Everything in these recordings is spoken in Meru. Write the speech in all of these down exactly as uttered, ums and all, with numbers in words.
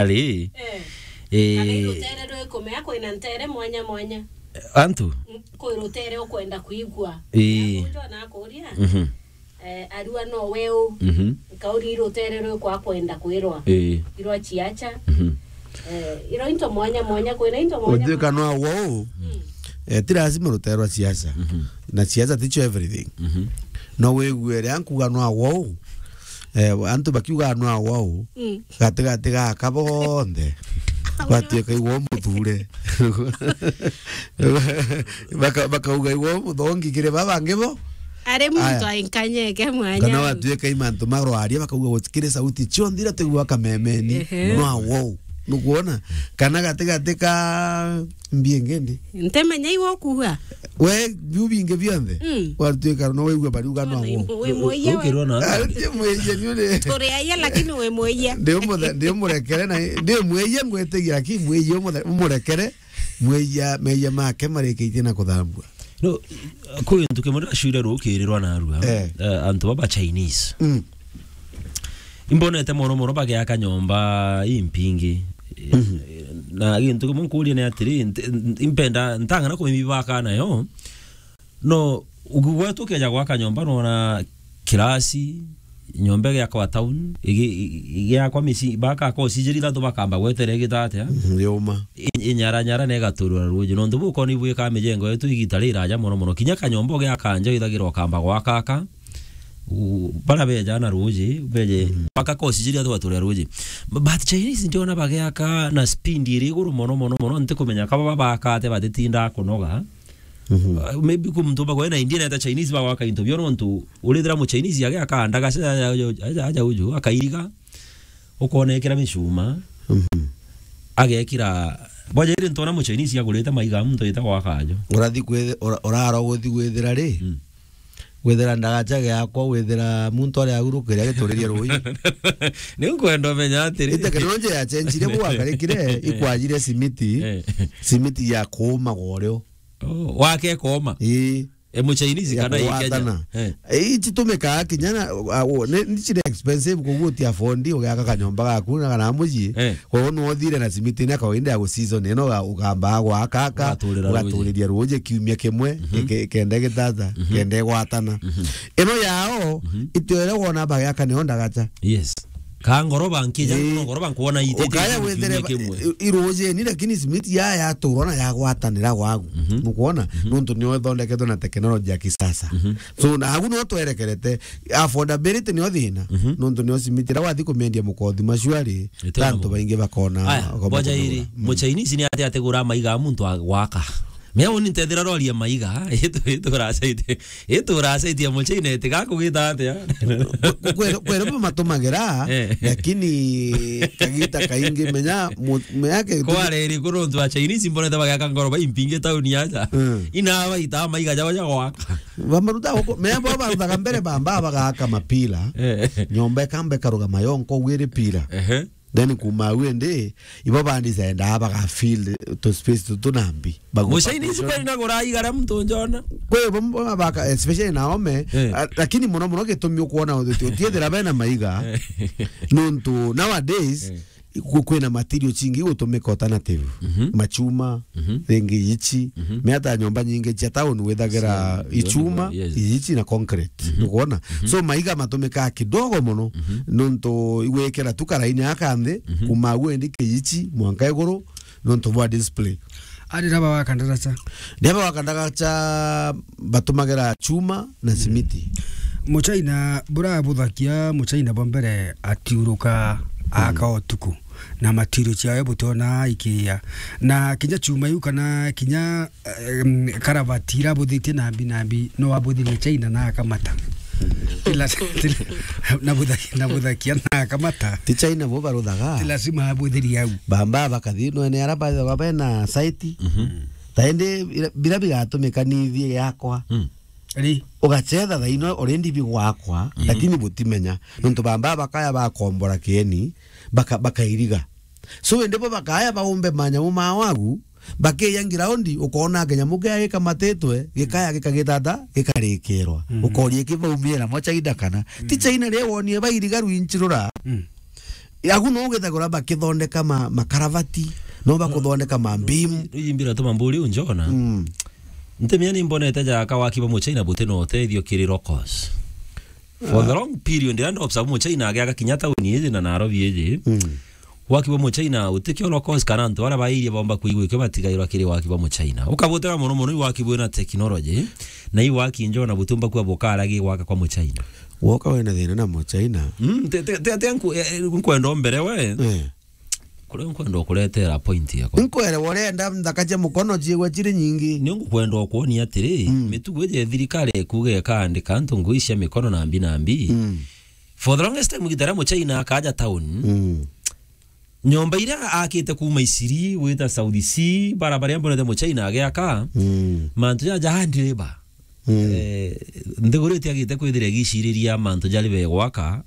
Ari. Eh. Eh. Kana i rutere rwiku, mea kwina ntere mwanya mwanya. Antu? Mm, kwi rutere ukwenda kwigua. Eh. Mea kunjwa na kuria. Mhm. Eh, arua no weu. Mhm. Nkauri i rutere rwiku akwenda kwirwa. Eh. Irwa ciacha. Mhm. Eh, iro into mwanya mwanya, kwina into mwanya. Utwika mwanya. No wou. Mm. Eh, ti lazima rutere rwa ciacha. Mhm. Na ciacha ticio everything. Mhm. No wigue ria nkuga no wou. Eh, antu bakiuga no wou. Mm. Gatigati gaka bonthe. Gwatuika igwo muthure. Baka-, bakauga igwo muthongi kiri ba bangi bo. Ari muntu ainkanyeke mwanya. Kana watuika i mantu marwaria, bakauga gutikiri sauti cionthe iria tuigua kamemeni. Ehe. No wou. Nukwona? Kana gatigati ka mbiengende. Ntemenya iwe ukuga. We, biu bingi bionthe, mm, warituika no waigua bariuga no wou. Wi mwiyia we. Ukirwa na Ah, ndi mwiyia ni uri. Turi aia lakini wi mwiyia. Ndi umuthe-, ndi umurekere na ndi mwiyia ngwitigia, lakini mwiyia umuthe-, umurekere, mwiyia, meyia make marikitie na kuthambua. No, kwi gintu kimwe ndiracuria rukirirwa narua. Eh. Eh, antu baba Chinese. Mm. Imbonete mono mono bagiaka nyomba impingi. Mhm. Na gintu kimwe nkuria ni atiri, nte-, impenda, ntang'ana kumibibaka nayo. No, ugu gwetu ukeja gwaka nyomba, nona kirasi, nyomba igiakwa town, igi-, igi-, igiakwa mici-, baka kocijiri ithatu bakamba gwetera igita atia? Mhm, yuma. I-, inyaranyara na igaturwa ruji. Nontu bukoni bwika mijengo yetu igita riraja mono mono. Kinya kanyomba ugiaka nja withagira ukamba gwaka aka, u-, bara beja na ruji, beje, mm, baka kocijiri ithatu baturira ruji. B-, but Chinese ndiona bagiaka na speed iri iguru mono mono mono, ntikumenya kaba babaka atia batitinda kunoga. Mhm. Uh, maybe ku muntu bagwe na India na ta Chinese bagwaka into bio nontu urithira mu Chinese agiaka ndagaca aja, aja, aja uju, akairiga, ukona ekira micuma, mhm, agekira, boja iri ntona mu Chinese agurite maiga muntu ita gwaka ajo. Urathi kwithe-, ura-, uraro guthi gwithira ri? Mm. Gwithira ndagaca giakwa, gwithira muntu aria agurukiria gituriria ruji. Ni nkwenda umenya atiri. I teknoloji ya chenjire bu wakarikire, ikwajire simiti, eh, simiti ya kuuma gworio. Oh, wake koma. Ii. E, mu Chinese ya kana i Kenya? Kugwatana. Eh. E, ici tumikaa kinya na, a, o, ni, ni cire expensive kugutia fondi, ugiaka kanyomba gaku, na kana muji. Eh. Kwa hiyo no uthire na simiti na kawaida ya gu season, ino ga-, ugamba gwaka aka, ugaturiria ruji. Ugaturiria ruji kiumia kimwe, mhm, ke-, kenda gitata, mhm, kenda gwatana. Mhm. Ino yao, mhm, itwere wona bagiaka niyo ndagacha. Yes. Ka ngoroba nkija, ii, no ngoroba nkuona ite ukaya ite wethire kiumia kimwe. I-, irujeni, lakini simiti ya yaturwa na yagwatanira gwagu. Mhm. Nukwona? Mhm. Nontu niyo ithondeketwe na teknoloji ya kisasa. Mhm. So, na agu no twerekerete, affordability niyo thina. Mhm. Nontu niyo simiti ira wathi kumendia mukothi macuari, ite tantu baingi bakona. Aya, bakona boja kugura. Iri, mm, mu Chinese ni ate ategura maiga muntu agwaka. Mea uni ntethira roria maiga, itu, itu rasaitie, itu rasaitie mu China iti gakugita atia? Kwe-, kwere bo matumagira, eh, lakini kagita kaingi menya mu-, menya ke- Kwa riri kuru ntu a Chinese mbonete bagaka ngoro ba impinge tauni aja. Mm. Ina baita maiga jao ja gwaka. Bamaruta guku, mea bo baruthaga mbere bamba bagaka mapila. Eh. Nyomba ikamba ikarugama yonko gwiri pila. Ehe. Then kuma au indi, ibo bandi zendaa baga fill tu space tutu na mbi. Bagu- Mucaini ici kweli na gura igara muntu njona. Kwe bo mbo baka, especially na ome, eh, a-, lakini muno muno gitumi ukwona uti-, utiethira bena maiga. Eh. Nontu nowadays, eh, ku-, kwina material cingi gutumika alternative. Mhm. Machuma, mhm, ringi ichi, mhm, miata nyomba nyingi cia town withagira, cia, ichuma, yes, ichi na concrete. Mhm. Nukwona? Mhm. So, maiga matumikaga kidogo muno, mhm, nontu igwikira tu karaini aka nthi, mhm, kuma agu endi kiichi, mwanka iguru, nontu bwa display. Ari raba wa kandaracha. Raba wa kandaracha batumagira chuma na, mm, simiti. Muchaina, burabuthakia Muchaina bwa mbere atiuruka, mm, aka utuku. Na material ciawe butiona ikiya. Na kinya chuma iu kana kinya, em, karabati irabuthitie nambi nambi, no abuthirie China na akamata. Ti la-, ti la-, na butha-, na buthakia na akamata. Ti China bo baruthaga. Ti lazima abuthirie au. Bamba bakathi no ene ara ba, ba bena site. Mhm. Ta indi bira, bira bigatumika ni ithie yakwa. Mm. Ri? Ugacetha thaino already bigwakwa, mm, lakini butimenya. Nontu bamba bakaya bakombora kieni, baka-, bakairiga. So, indi bo bakaya baumbe manyamu ma wagu, bakeya ngiraundi, ukona kinyamu kia gikamatitwe, gikaya gikagitata, gikarikirwa. Mhm. Ukoria kibaumie na mo China kana. Ti, mm, China ri wonie bairiga rwinchirura. Mm. Agu no githagura bakithondeka ma, makaravati, no bakuthondeka ma mbimu. Riu imbira tuma mburi unjona. Mm. Ntemia ni mbonete jaka waki ba Muchina buti na utethio kiri locals. For the long period, and observe Muchina agiaka kinya tauni iji na Nairobi iji. Mm. Waki bwa Muchina utikio locals kana antu baria bairie bomba kuigua ikio batigairwa kiri waki bwa Muchina. Ukabutega mono mono i waki bwina technology, na i waki njo na butumba kwa bukara gi gwaka kwa Muchina. Woka wena thina na Muchina. Mm, te, te, te, te nku-, eh, eh, nkwenda umbere we. Eh. Kuria nkwenda ukuretera point yakwa. Nkwere urenda nthaka cia mukono ciigwe ciri nyingi. Ni ngukwenda ukuonia atiri, mm, mitugo iji ya thirikari ikuga ikaandika antu ngui cia mikono na mbi na mbi. Mm. For the longest time, gitara Muchina akaja town. Mm. Nyomba iria akite kuuma Isiri, gwita South Sea, barabara iria mbonete Muchina agiaka, mm, mantu jaja hand labor. Mm. Eh, nthiguru itiagite kwithira igiciriria mantu jari be gwaka,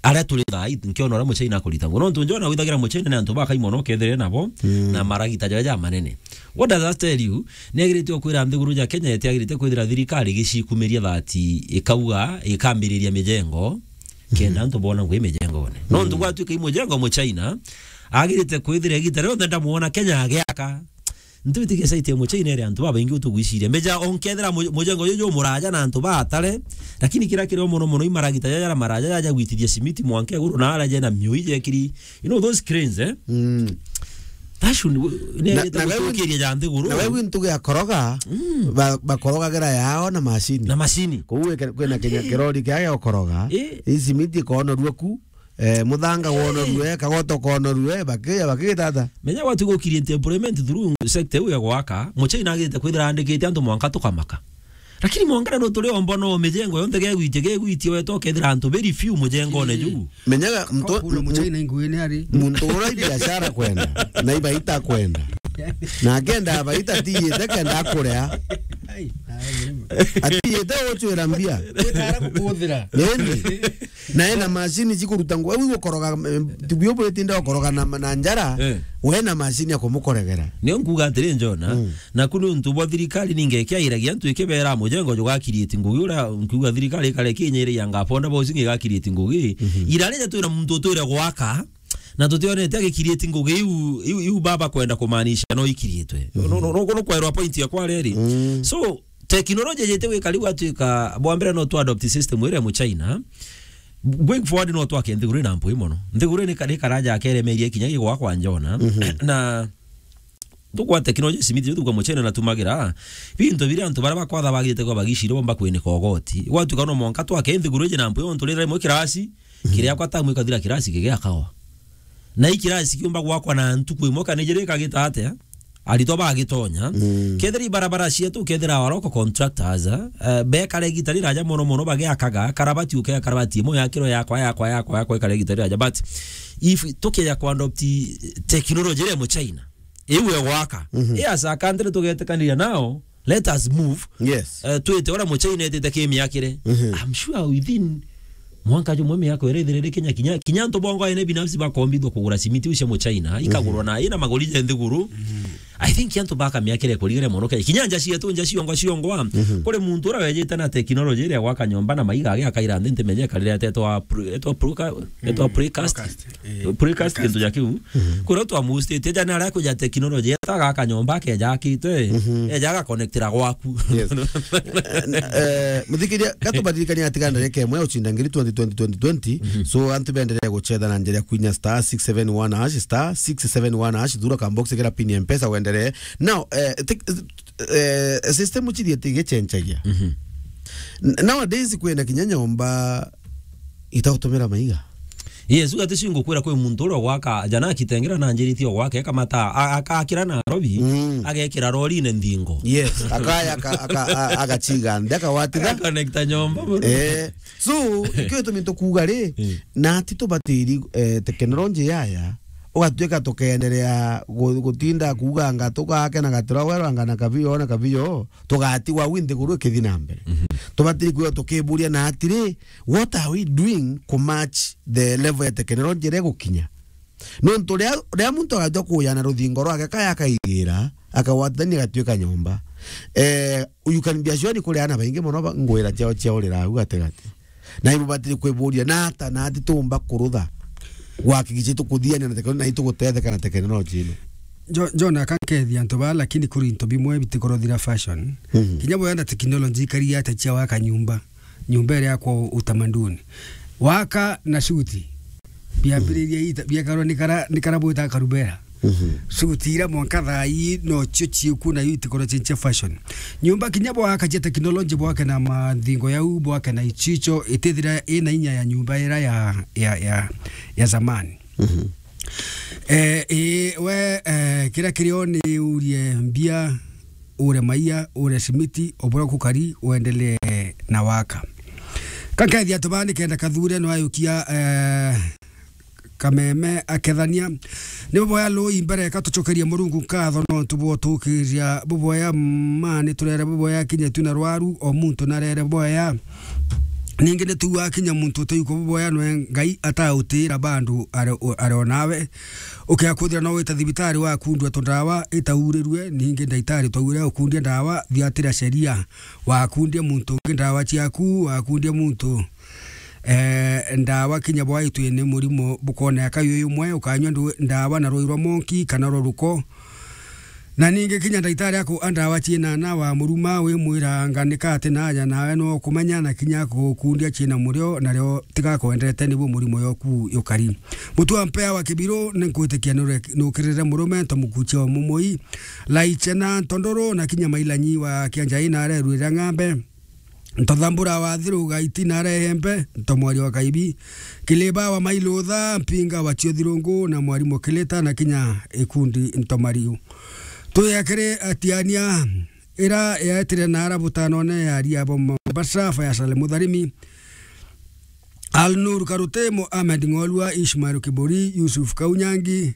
aria turi thaa ii, nkiona uria Muchina akurita nguo. Nontu njona withagira Muchina ni antu bakai mono ukethire nabo, mm, na maragita jaja manene. What does that tell you? Ni agirite kwira nthiguru ja Kenya itiagirite kwithira thirikari igicikumiria that ikauga ikambiriria mijengo, kenda antu bona ngui mijengone. Nontu gwatuika i mujengo Muchina, agirite kwithira igita rionthe ndamuona Kenya agiaka. Ntwitikia site ya Muchina iri antu babaingi utugwiciria. Mbeja onkethira mu-, mujengo juju muraja na antu batare, lakini kira kirio mono mono i maragita jaja na maraja jaja gwitithia simiti mwanka iguru na ara jena miui jekiri. You know those cranes, eh? Mm. That should, ni Na, agirite na wewe gucokeria ja nthiguru. Na wewe ntuge ya koroga, mm, ba-, bakorogagira yao na macini. Na macini. Kou weke-, kwina kinya kirori kia gukoroga, eh, i simiti ikonorua ku, eh, muthanga wonorue, kagoto konorue, bakiya, bakigitata. Menya gwatu gukirie employment through sector iu ya gwaka, Muchina agirite kwithira andikite antu mwanka tukamaka. Lakini mwanka no turi omba no mijengo yonthe gegwitie, gegwitie weta ukethira antu very few mujengone juu. Menyaga mtu, kuna Muchina inguine ari. Muntu ura i biashara kwenda, na ibaita kwenda. Na akenda abaita atiyite kenda akurea. Ai, ai, ai. Atiyite ucwira mbia. Gwikara gukuthira. Indi. Na ena macini cikuruta nguo. Au gukoroga, eh, tibio bwitinde gukoroga na, na njara, eh, we na macini ya kumukoregera. Nio nkuga atiri, Njona, mm, naku ni untu bwa thirikari ninge ikiairagia antu ikibera mujengo jugakirieti ngugi uria nkuga thirikari ikare kinyiri ya ngaponda bosi ngigakirieti ngugi. Mhm. Iraria twina muntu utwire gwaka, na tutionete agikirieti ngugi iu, iu, iu baba kwenda kumaanisha no ikirietwe. Mhm. No, no, no, no kwerwa point ya kwa reri. Mm. So, teknolojia jete gwika riu atuika, bwa mbere no tu adopt system iria ya Muchina. Going forward no twake nthiguru ina mpui mono. Nthiguru ni kari karaja akeremeria kinya gigwakwa, Njona. Mhm. Na tukwa teknolojia simiti jo tukwa Muchina na tumagira. Bintu biria antu baria bakwatha bagite kwa bagicire bomba kwinika ugoti. Gwatuika no mwanka twake nthiguru iji na mpui ontu rira rimwe kirasi, mhm, kiria kwa tamu ikathira kirasi kigiakawa. Na i kirasi kiumba gwakwa na ntuku imwe kana ijiri ikagita atia? Aritwa bagitonya. Mm. Kethira ibarabara cietu, kethira aba local contractors, eh, bekare igita riraja mono mono bagiakaga, karabati uke, karabati imwe yakirwe yakwa, yakwa, yakwa, yakwa, ikare igita riraja. But if tukeja ku adopt technology iria Muchina, iu ya gwaka, mhm, i as a country tugetikaniria nao, let us move. Yes. Eh, twite uria Muchina etite kimiakire. Mhm. I'm sure within mwanka jumwe miaka iri ithirire kinya, kinya, kinya antu bongo ene binafsi bakombithwa kugura simiti iu cia Muchina, ikagurwa na ina magori ja nthiguru. Mhm. I think antu baka miaka iri kurigire mono Kenya. Kinya nja cietu, nja ciongwa, ciongwa. Mhm. Kuri muntu uria wejite na technology iria gwaka nyomba na maiga agi akaira nthi ntimenye karire atetwa pre-, etwa pre-, etwa precast. Precast. Eh, precast, precast. Kintu ja kiu. Mhm. Kuria twa mustite jana aria kuja technology, eta gaka nyomba keja akite, mhm, eja aga connectira gwaku. Yes. Eh, eh, muthikiria, gatubaririkania ati ga ndarika imwe ya ucinda ngiri twenty twenty twenty twenty. Mhm. So, antu benderee gucetha na njira ya kwinya star six seven one hash, star six seven one hash, thura ka box kira pin ya Mpesa wenderee. Now, eh, tek-, eh, system cithiete igichenjagia. Mhm. N-, nowadays kwina kinya nyomba itautumira maiga. Yes, uga ticio ngukwira kwi muntu uria gwaka, jana akitengera na njiriti o gwake, akamata, a-, akakira Nairobi, mm, agekira rorine nthingo. Yes, akaya aka-, aka-, a-, agachiga nthi, akawatitha. Agaconnecta nyomba buru. Eh, so, ikio gitumi tukuga ri, mm, na ti tubatiri, eh, teknoloji yaya, ugatuika tukenderea gu-, gutinda kuuganga tugake na gatiro werwanga na kabio na kabio, tugatigwa au nthiguru ikithi na mbere. Mhm. Tubatiri kwithirwa tukiburia na atiri, what are we doing ku match the level ya technology iria igukinya? Nontu ria, ria muntu agatua kuya na ruthingo rwake kaya akaigira, akagwatithania gatuika nyomba. Eh, you can be assured kuri ana baingi mono ba-, ngwira ciao ciaurira au gatigati. Na ibubatiri kwiburia, na ata na ati tumba kurutha? Gwakikisha itukuthiania na teknoloji na itugutetheka na teknoloji ino. Jo-, Jona, akankethia antu baa, lakini kuri into bimwe bitikorothira fashion. Mhm. Kinya boya na technology ikari ate cia waka nyumba. Nyumba iria yakwa utamaduni. Waka na suti. Biambiriria ita-, biakarwa ni kara, ni kara bwita karubera. Mhm. Suti ira mwanka thaa ii no cio ciuku na yu itikoro cia fashion. Nyumba kinya bwaka cia technology, bwake na mathingo yau, bwake na ichicho, itithira ina inya ya nyumba ira ya, ya, ya, ya zamani. Mhm. Eh, ii, we, eh, kira kirio ni urie mbia, ure maia, ure simiti, obura kukari, uendelee na waka. Kankethia antu baa nikenda Kathure no ayukia, eh, kameme akethania. Ni buboya lui mbere, ka tucokerie Murungu nkatho nontu bwa utukiria buboya ma ni turere buboya kinya tu na rwaru, o muntu narere boya. Ningi ni tuuga kinya muntu uteyukwa buboya nwe Ngai atautira bandu are, are o nawe. Ukiakuthira no wita thibitari wakundua tundawa itaurirue, ningi ndaitari twaure ukundia ndawa thiatira sheria. Wakundia muntu ungi ndawa ciaku, wakundia muntu, eh, ndawa kinya bwaitwi ni murimo bukoneka yu yumwe, ukanyua ndu-, ndawa na rui rwa monki kana rwa ruko. Na ningi kinya ndaitari aku a ndawa ciina na wa muruma wimwira nganika ati naja nawe no kumenya na kinya kukundia ciina murio nario tigakwendete nibu murimo yoku yukari. Mutu wa mpea wa kibiru ni nkwitikia nure-, nukirire murume nto mukuchia wa mumui. Laichena ntondoro na kinya mailanyi wa kianjai na arerwira ng'ambe. Ntothambura wa thiru gaiti na arehembe, ntomwaria wa kaibi. Kiliba wa mailutha, mpinga wa cio thirungu na mwarimu Kilita na kinya ikundi ntomariu. Tuyakire atiania ira yaetire na ara butanone ya Riabo Mombasa, Faisal Mutharimi. Alnur Karutemo, Ahmed Ng'olua, Ishmael Kibori, Yusuf Kaunyangi,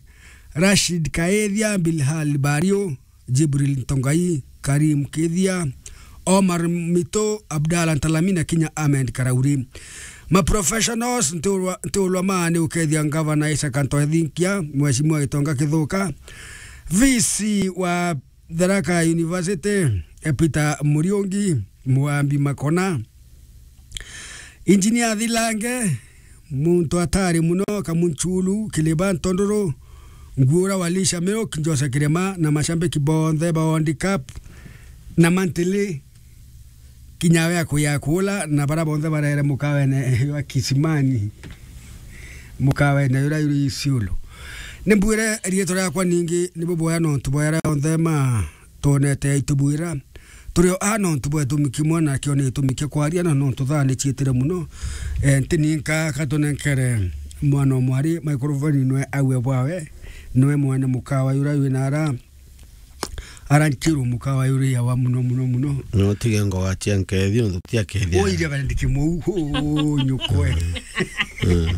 Rashid Kaethia, Bilhal Bario, Jibril Ntongai, Karim Kithia, Omar Mito, Abdallah Ntalami na kinya Ahmed Karauri. Ma professionals, ntiulwa, ntiulwa maa ni ukethia Ngavana Isaac Anto Ethinkia, Mheshimiwa Gitonga Kithuka, V C wa Tharaka University, Peter Muriungi, Mwambi Makona, Engineer Thilange, muntu atari muno, Kamunchulu, Kiliba Ntondoro, Nguura Walisha Milk, Jose Kirema, na mashambiki bonthe ba World Cup, na mantili, kinya we akuya kuula, na bara bonthe barere mukawene wa Kisimani, mukawene uria uri Isiolo. Ni mbwire riitwa riakwa ningi ni buboya nontu bwa aria onthe ma twonete aitubwira. Turi o a nontu bwa gitumi kimwe, nakio ni gitumi kia kwaria, na nontu thaa ni ciitire muno. Eh, ntininka ka tunenkere mwana o mwari microphone nwe aue bwawe, nwe mwene mukawa uria wina ara, ara nchiru mukawa uria wa muno, muno, muno. No tige ngoga cia nkethi, nontu ti akethi. Oi, Reverend Kimou, oh, nyukwe. Mm.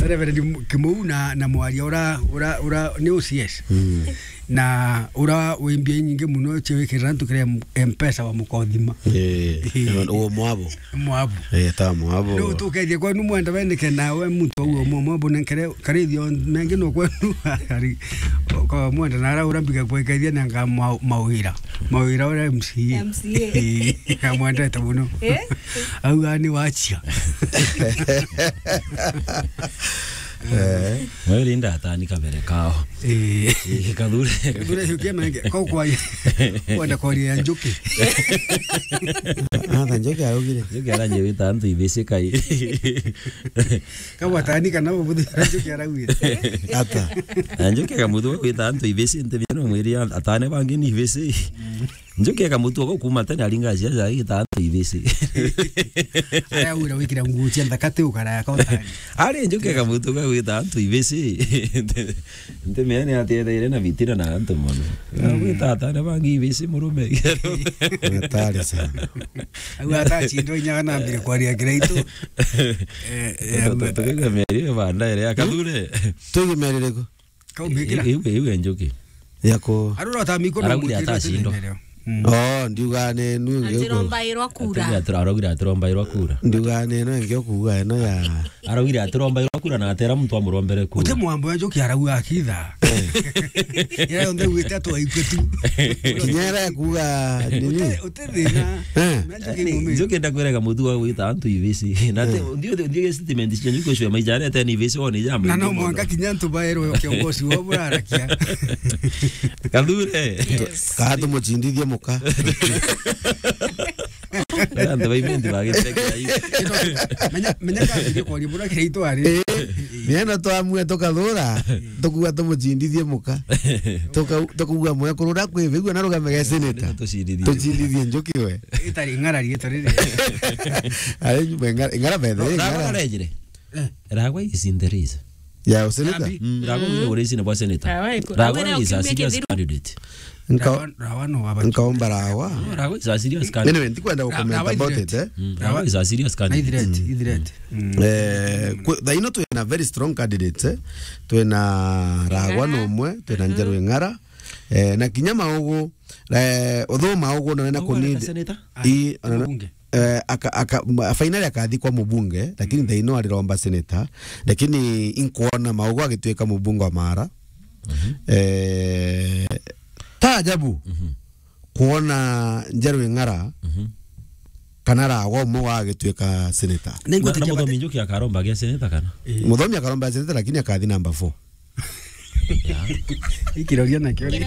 Reverend Kimou na, na mwaria ura, ura, ura ni O C S. Mm. Na ura wi mbia inyingi muno cia wikirira antu kiri M-, M-Pesa wa mukothima. Eh, eh, uo mwabo. Mwabo. Eh, ta mwabo. No tukethie kwenu mwenda weneke nawe muntu wa uo mwabo nenkere karithio mengi no kwenu ari kwa mwenda na ara ura mbiga kwekethia na nga ma-, mawira. Mawira ura M C A. M C A. Eh, amwendete muno. Eh? Au ani wachia. Eh. Wewe linda atani kabere kao. Eh. Eh, Kathure. Kathure, hiukia menge. Kau kwa, kwenda kwaria ya Njuki. Natha Njuki araugire. Njuki aranyewita antu ibisi kai. Kau atani kana bubuthi Njuki araugire. Ata. Na Njuki akamuthwa gwita antu ibisi, nte bino mwiri atane bangi ni ibisi. Njuki akamutua gwa kuuma tene aringa ciaca agita antu ibisi. Aria wira wikira nguo cia nthaka ti ukaraya ka utani. Ari Njuki akamutua gwa gwita antu ibisi. Nte, nte mea ni atetheire na bitina na antu mono. Mm. Gwita atane bangi ibisi murume. Hatari sana. Au atachindo inya kana ambire kwaria kiraitu. Eh, eh, tukiga meri banda ere ya Kathure. Tuige meri riku? Kaumikira. Iu, iu, iu Njuki. Yako. Arura utamiko no. Araugire mwikira atacindwa. Tene leo. Mm. Oh, ndiuga ni nu ngi. Atirombairwa kura. Atira-, atira-, araugire atirombairwa kura. Ndiuga ni no ngi kuuga eno ya. Araugire atirombairwa kura na atera muntu amurombere kura. Uti mwambo ya Njuki arauga akitha. Ira yonthe wite atwaikue tu. Kinya ira kuga nini? Uti, uti thina. Eh. Njuki ngumi. Njuki ndakwiraga mutu wa gwita antu ibisi. Na te, ndio, ndio statement cia Njuki ucio maijare te ni ibisi wone jamba. Na no mwanka kinya antu baerwe kiongozi wa burarakia. Kathure. Yes. Kaa tumucindithie muka. Antu baimenti bagiteke ai. Menya, menya ka ndio kwa libura kiri itwari. Eh, niena twamue tukathura, tukuga tumucindithie muka. Tuka-, tukuga mwekuru uria kwivigua na rugame ge senator. Tucindithie. Tucindithie Njuki we. Itari ng'ara rietwa riri. Ari nyuma ng'ara, ng'ara bethe, Ragwa ng'ara. Arejire. Eh. Ragwa is in the race. Ya useneta? Yambi. Mm, Ragwa wire uraisi na bwa senator. Ragwa iko-, Ragwa Ragwa is a kiumia serious kithiru. Candidate. Nka-, Rawa, Rawa no waba. Nkaomba Rawa. No, Ragwa is a serious candidate. Anyway, ndikwenda Ra-, gucomment Rawa about is it, eh. Mm, Rawa is a serious candidate. Na ithireti, ithireti. Mm. Eh, kwe-, thaa ino twina very strong candidates, eh. Twina Ragwa Ng'ara. Nomwe, twina Njeru Ng'ara. Eh, na kinya Maugu, eh, although Maugu no wena Maugu kunid-, areta senator? I, Ah, ona na, mbunge. Eh, aka, aka, ma-, finally akathi kwa mubunge, lakini thaa ino ariromba senator, lakini inkuona Maugu agituika mubunge wa Mara. Mhm. Eh, ta ajabu, Mhm. kuona Njeru Ng'ara Mhm. kana Ragwa umwe agituika senator. Na, na Muthomi Njuki akaromba agia senator kana? Eh. Muthomi akaromba senator, lakini akathi number four. Ikiroria nakio ri.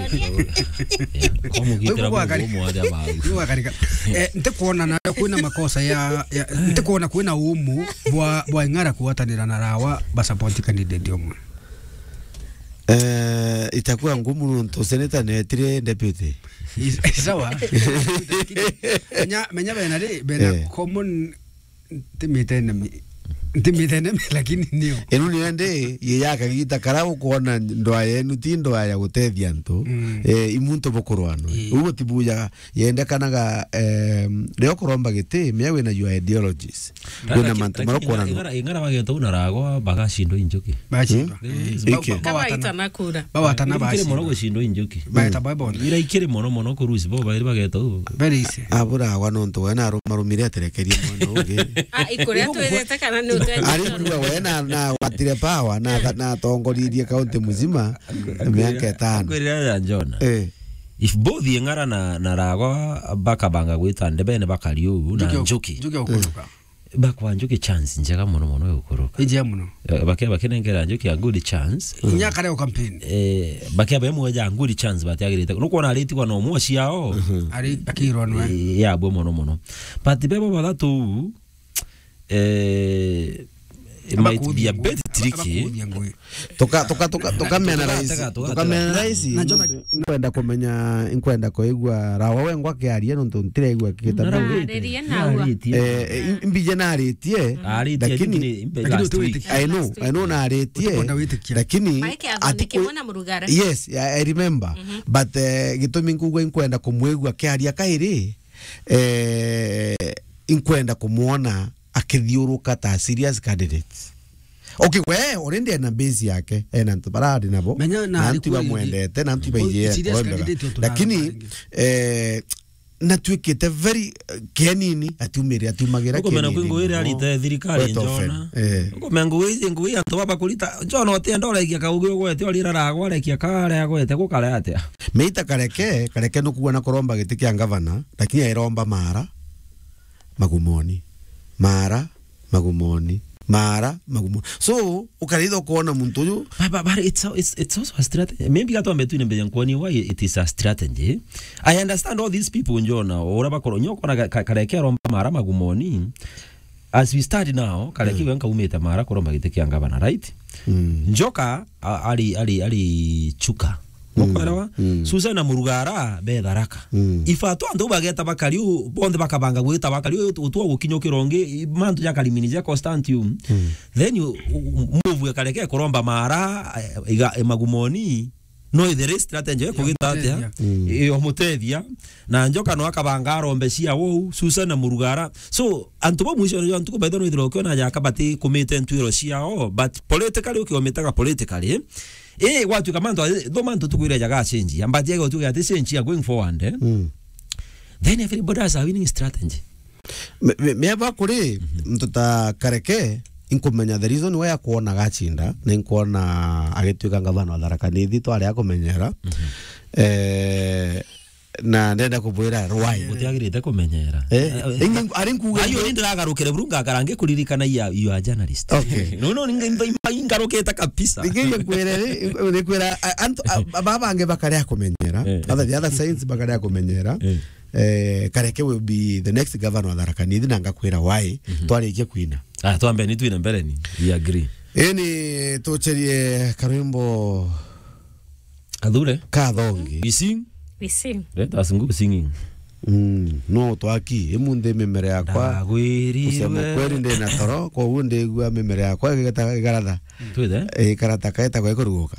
Kwa mugitira Kwa Mungu gwakarika. Umwe aria bau. Kwa gwakarika. Eh, ntikwona na kwina makosa ya, ya, ntikwona kwina umu bwa, bwa Ng'ara kugwatanira na Rawa ba support candidate umwe. Eh, itakuwa ngumu nontu senator netire deputy. Is-, sawa. Menya, menya bena ri, bena Eh. common Ntimite enemy. Ntimite enemy, lakini nio. Inu nio ndi, ye ya kagita kara ukwona ndwaa yenu ti ndwaa ya gutethia antu. Mm. Eh, i muntu bukurwanwe. Ii. Uguo tibujaga, yendekanaga, em, rio kuromba giti, mea wina your ideologies. Wina Lakini, mantu lakini mara Ng'ara, ukwona Ng'ara, Ng'ara bageta una Ragwa, bagacindwa i Njuki. Bagacindwa. Mm. Ii. Ba-, Iki. Ba-, bawatana. Kabaitana kura. Bawatana Ira ikiri mono bacindwa. Gucindwa i Njuki. Baeta Mm. baibonde. Ira ikiri mono mono kurusi bo bairi bageta u. Very easy. Abura Ragwa nontu we narumarumire aterekerie mwana ungi. Ah, ikuria twirite kana ni utwenjete? Ari kuga we na, na watire power, na, na atongoririe kaunti muzima miaka itano. Akwirira ya Jona. Eh. If both Ng'ara na, na Ragwa bakabanga gwita ndebene bakari uu na Njuki o-, Njuki. Njuki okuruka. Bakwa Njuki chance njega mono mono ya gukuruka. Ni njega mono. Eh, bake-, bakenengera Njuki a good chance. Inya kare o campaign. Eh, bake bae mweja good chance batiagirite. Nukwona aritigwa no mwa ciao. Mhm. Ari akirwa nwe. Eh, ya bwe mono mono. But bebo bathatu, eh, it might be a bit tricky. Abakuthia ngui. Tuka-, tuka-, tuka-, tukamena Tugatega, rais, tugatega. Tukamena rais, Na Jonah nkwenda kumenya, nkwenda kuigua Rawa wengwa akiaria nontu ntiregua kigita Na Rawa Rawa. Aririe naua. Aritie. Eh, eh, im-, imbije naritie, Aritie, lakini lakini imbe Lakini last week. Utiwitikia. I know, I know naritie, Ukwenda witikia. Lakini Maike athoneke atiku-, mwana murugara. Yes, I, I remember. Mhm. But, eh, gitumi nkugua inkwenda kumwigua akiaria kairi, eh, inkwenda kumwona akithiuruka ta serious candidates. Okay, we already ena base yake, ena antu bara ari nabo, Menya na na antu arikuwa bamwendete, na antu Oi, baijire serious kuromba. Candidate otu Lakini, na eh, natuikite very, eh, kianini, atiumire, atiumagira Ukumena kianini kwingo ire nabo. Arite thirikari Quite often. Njona. Eh. Ukumena ngugi iji, ngugi antu baba kurita, Njona utienda urekia kaugi ugwete, urira Ragwa arekia kare agwete, gukare atia? Meita Kareke, Kareke nukuona kuromba giti kia ngavana, lakini airomba Mara. Magumoni. Mara, Magumoni. Mara, Magumoni. So, ukaritha ukoona muntu uyu. But, but, but it's, a, it's, it's also a strategy. Maybe gatwambe twine mbere nkwoni why it is a strategy. I understand all these people Njona, ura bakoro, nyo kona ka-, ka-, Kareke aromba Mara Magumoni. As we stand now, Kareke Mm. we nkaumite Mara kuromba giti kia ngavana, right? Mm. Njoka, a-, ari, ari, ari Chuka. Mm. Nukwelewa? Mm. Susan na Murugara be Tharaka. Mm. Ifato antu bageta bakari u, bonthe bakabanga gwita bakari u, utua gukinya ukirongi, mantu ja karimini ja Constantium. Mm. Then you, u, u, move Kareke kuromba Mara, eh, iga, eh, Magumoni. No ithere strategy ya kugita atia? Mutethia. Mm. Iyo mutethia. Na Njoka no akabanga arombe cia wou, Susan na Murugara. So, antu ba mwisho ya ntuku baitha no ithira ukiona jaka bati kumite ntwiro ciao, but politically ukiomitaga politically. Eh, gwatuika mantu, eh, tho mantu tukwire jaga change. Ambati ya gutwika ati change ya going forward, eh? Mm. Then everybody has a winning strategy. Me, me, me aba kuri, Mhm. mtu ta Kareke, inkumenya the reason why akwona gacinda, na inkwona agituika ngavana wa Tharaka Nithi, twari akumenyera. Eh, na ndenda kubwira rwai. Gutiagirite kumenyera. Eh, ingi ari nkuga ayo ni ndiragarukire buru ngakara ngikuririkana you are, you are journalist. Okay. No, no, ninga ingarukite kabisa. Ningiria kwere, ni kwira, a-, antu, a-, a-, baba bangi bakare akumenyera. Eh. Other, the other sides bakare akumenyera. Eh. Eh, Kareke will be the next governor wa Tharaka Nithi, na ngakwira why. Twarikia kwina. Ah, twambe ni twine mbere ni. We agree. Ini tucherie karwimbo Athure. Kathongi. We sing. We sing. Let us go singing. Mm, no twaki, imunthi mimere yakwa. Ndagwirirwe. Kusema kweli ndi na toro, koguo ndigua mimere yakwa igeta-, igaratha. Twithe? Eh, ikarata kaeta kwa ikuruguka.